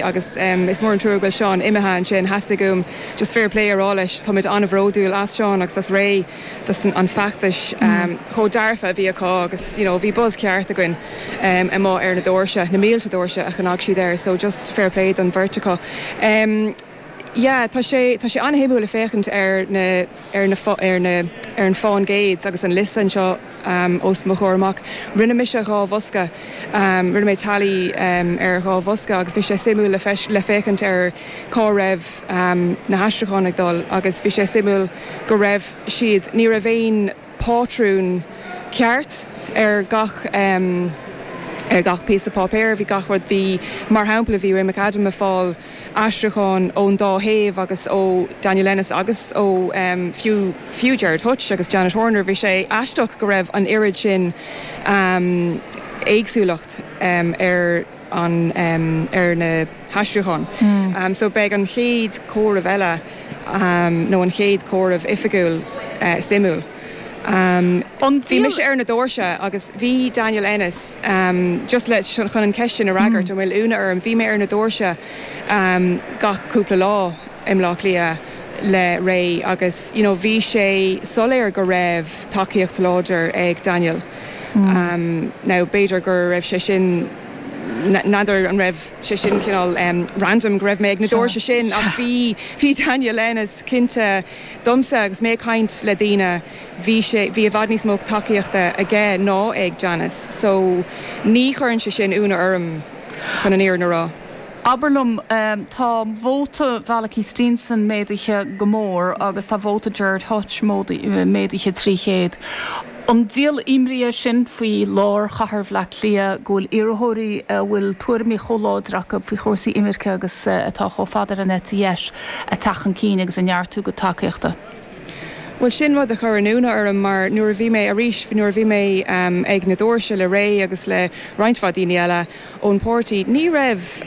Agus is mór an trua go bhfuil Seán imithe ansin. Theastaigh uaim just fair play a rá leis. Táimid an-bhródúil as Seán agus as Ray dos an feachtas chomh dearfa a bhí acu agus you know bhí buzz ceart againn amuigh ar na doirse, na mílte doirse a chnag siad air so just fair play don bheirt acu. Yeah, tá sé, tá sé an-shuimiúil ag féachaint ar na, ar na, ar na, ar an fán gcéad agus an liosta anseo os mo chomhair amach. Rinne mise dhá bhosca, rinne mé tally ar dhá bhosca agus bhí sé suimiúil le le féachaint ar cá raibh na haistriúcháin ag dul agus bhí sé suimiúil go raibh siad, ní raibh aon pátrún ceart ar gach ar gach píosa páipéir, bhí gach rud, bhí, mar shampla, bhí Ray McAdam ag fáil aistriúcháin ón dá thaobh agus ó Daniel Ennis agus ó fiú fiú Gerard Hutch agus Janet Horner, bhí sé aisteach go raibh an oiread sin éagsúlacht ar an ar na haistriúcháin. So beidh an chéad chomhaireamh eile nó an chéad chomhaireamh oifigiúil suimiúil. Bhí mise ar na doirse agus bhí Daniel Ennis, just le, chun an cheist sin a fhreagairt, an bhfuil ionadh orm, bhí mé ar na doirse gach cúpla lá i mBleá Cliath le Ray agus you know bhí sé soiléir go raibh tacaíocht láidir ag Daniel. Now b'fhéidir go raibh sé sin, n'fheadar an raibh sé sin cineál random go raibh mé ag na doirse sin ach bhí, bhí Daniel Ennis cinnte, Domsa, agus mé ag caint le daoine, bhí sé, bhí i bhfad níos mó tacaíochta aige ná ag Janice. So, ní chuireann sé sin ionadh orm, chun an fhírinne a rá. Abair liom, tá vóta Mhalachy Steenson méadaithe go mór agus tá vóta Gerard Hutch méadaithe 300. An díol imní é sin faoi lár chathair Bhaile Átha Cliath go bhfuil iarrthóirí a bhfuil tuairimí chomh láidir acu faoi chúrsaí imirce agus atá chomh fada ar an eite dheis ag teacht chun cinn agus ag neartú a gcuid tacaíochta? Bhuel, sin rud a chuireann ionadh orm mar nuair a bhí mé, arís, nuair a bhí mé ag na doirse le Ray agus le roinnt mhaith daoine eile, ón bpáirtí. Ní raibh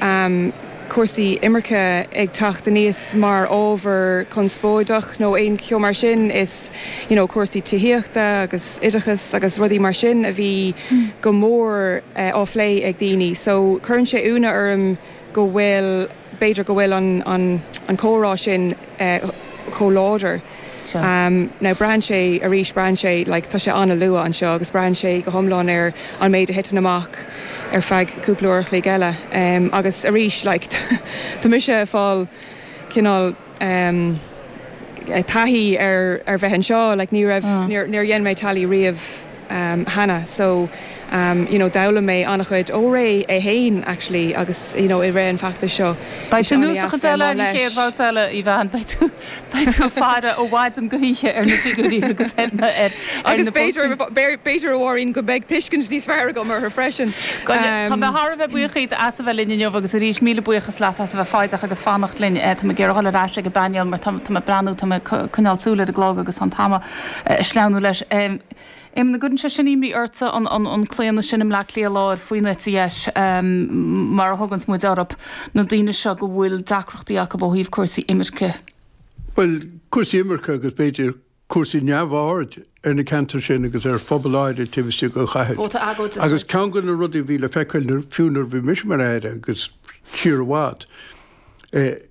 cúrsaí imirce ag teacht aníos mar ábhar conspóideach nó aon cheo mar sin. Is you know cúrsaí tithíochta agus oideachas agus rudaí mar sin a bhí go mór á phlé ag daoine. So cuireann sé ionadh orm go bhfuil, b'fhéidir go bhfuil an an an comhrá sin chomh láidir. Now braitheann sé, arís, braitheann sé, like, tá sé an-luath anseo agus braitheann sé go hiomlán ar an méid a thiteann amach ar feadh cúpla uair a chloig eile. Agus arís, like, tá mise ag fáil cineál taithí ar ar bheith anseo, like, ní raibh, níor níor dhein mé tally riamh cheana so you know d'fhoghlaim mé an-chuid ó Ray é fhéin actually agus you know i rith an feachtais seo. Beidh tú anuas sa chuid eile an chéad bhabhta eile, a Aoibheann, beidh tú beidh tú ag faire ó mhaidin go hoíche ar na figiúirí agus ar na ar Agus b'fhéidir b'fhéidir a Mháirín go mbeidh tuiscint níos fearr agam orthu freisin. Tá mé thar a bheith buíoch díot as a bheith linn inniu agus arís míle buíochas leat as a bheith foighdeach agus fanacht linn. Tá mé ag iarraidh dul ar ais ag an bpainéal mar tá mé ag breathnú, tá mé ag coinneáil súil ar an gclog agus tá an t-am ag sleamhnú leis. Éamonn, an gcuireann sé sin imní ortsa, an claonadh sin i mBleá Cliath Láir faoin eite dheis, mar a thuganns muid orthu, na daoine seo go bhfuil deacrachtaí acu ó thaobh cúrsaí imirce? Bhuel, cúrsaí imirce agus b'fhéidir cúrsaí neamhaird ar na ceantair sin agus ar phobail áirithe taobh istigh den chathair. Vóta agóide Agus ceann de na rudaí a bhí le feiceáil fiú nuair a bhí mise mar Aire agus siar i bhfad,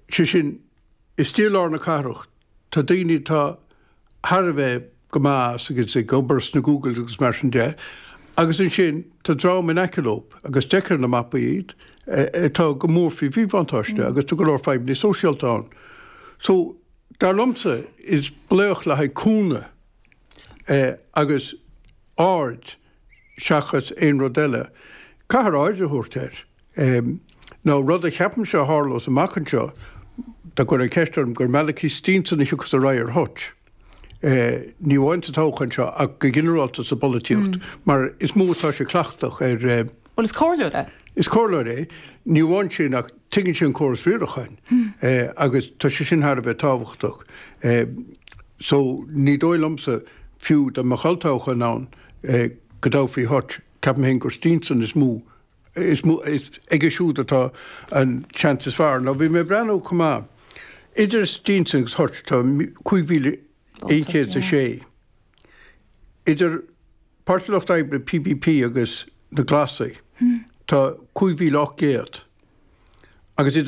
sé sin, istigh i lár na cathrach, Tá daoine atá thar a bheith go maith as agus ag obair sna Googles agus mar sin de, agus ansin tá dream in aice leo, agus d'fheicfeá ar na mapaí iad, atá go mór faoi mhíbhuntáiste agus tá go leor fadhbanna sóisialta ann. So, dar liomsa, is glaoch le haghaidh cúnamh agus aird seachas aon rud eile. Caithfear aird a thabhairt air. Nó rud a cheapaimse a tharlós amach anseo, dá gcuirfeá ceist orm, gur Malachy Steenson a thiocfas ar aghaidh ar Hutch. Ní amháin sa toghchán seo ach go ginearálta sa bpolaitíocht, mar is mó atá sé cleachtach ar. Bhuel, is comhairleoir é. Is comhairleoir é. Ní amháin sin ach tuigeann sé an córas riaracháin agus tá sé sin thar a bheith tábhachtach. So, ní dóigh liomsa, fiú dá mbeadh olltoghchán ann, go dtoghfaí Hutch. Ceapaim féin gur Steenson is mó, is mó, is aige siúd atá an seans is fearr. Now, bhí mé ag breathnú chomh maith, idir Steenson agus Hutch tá 5,106. Idir Páirtí Lucht Oibre, PPP, agus na Glasaigh, tá 5,800. Agus iad.